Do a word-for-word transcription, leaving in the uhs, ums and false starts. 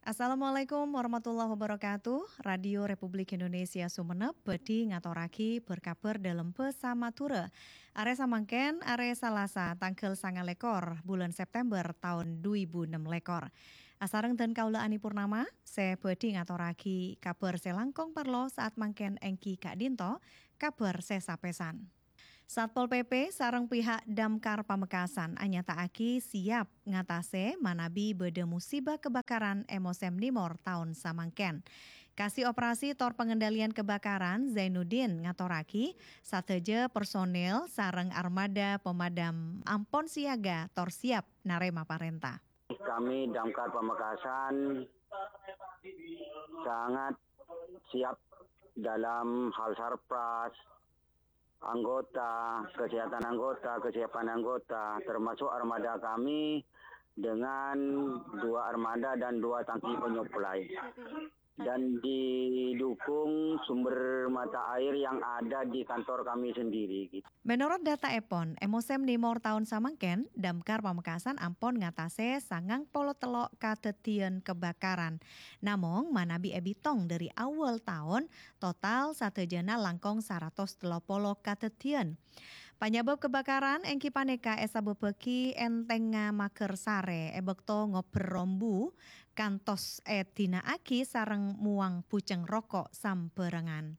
Assalamualaikum warahmatullahi wabarakatuh. Radio Republik Indonesia Sumenep bhâdhi ngatorraghi berkabar dâlem bhâsa Madhurâ. Arè samangkèn, arè Salasa, tangghâl sanga lèkor bulân September taon du èbu ennem lèkor. Asareng dân kaulâ Ani Purnama, sè bhâdhi ngatorraghi kabhâr sè langkong parlo saat mangkèn èngghi ka'dinto kabhâr sè sapèsan. Satpol P P sareng pihak Damkar Pamekasan anyata'aghi siap ngatasè manabi bâdâ musibah kebakaran è mosèm nèmor taon samangkèn. Kasi Operasi tor Pengendalian Kebakaran Zainuddin ngatorraghi, sadhâjâ personil sareng armada pemadam ampon siaga tor siap narèma parènta. Kami Damkar Pamekasan sangat siap dalam hal sarpras, anggota, kesehatan anggota, kesiapan anggota, termasuk armada kami dengan dua armada dan dua tangki penyuplai. Dan didukung sumber mata air yang ada di kantor kami sendiri, gitu. Menurut dataèpon, è mosèm nèmor taon samangkèn, Damkar Pamekasan ampon ngatasè sangang polo tello' kadhâddhiyân kebakaran. Namong, manabi èbitong dâri awwâl taon, total sadhâjâna langkong saratos tello polo kadhâddhiyân. Panyabâb kebakaran èngghi panèka èsabâbbhâghi èntèngnga maghâr sarè è bâkto ngobbher rombu, kantos èdina'aghi sareng mowang bujeng roko' sambhârângan.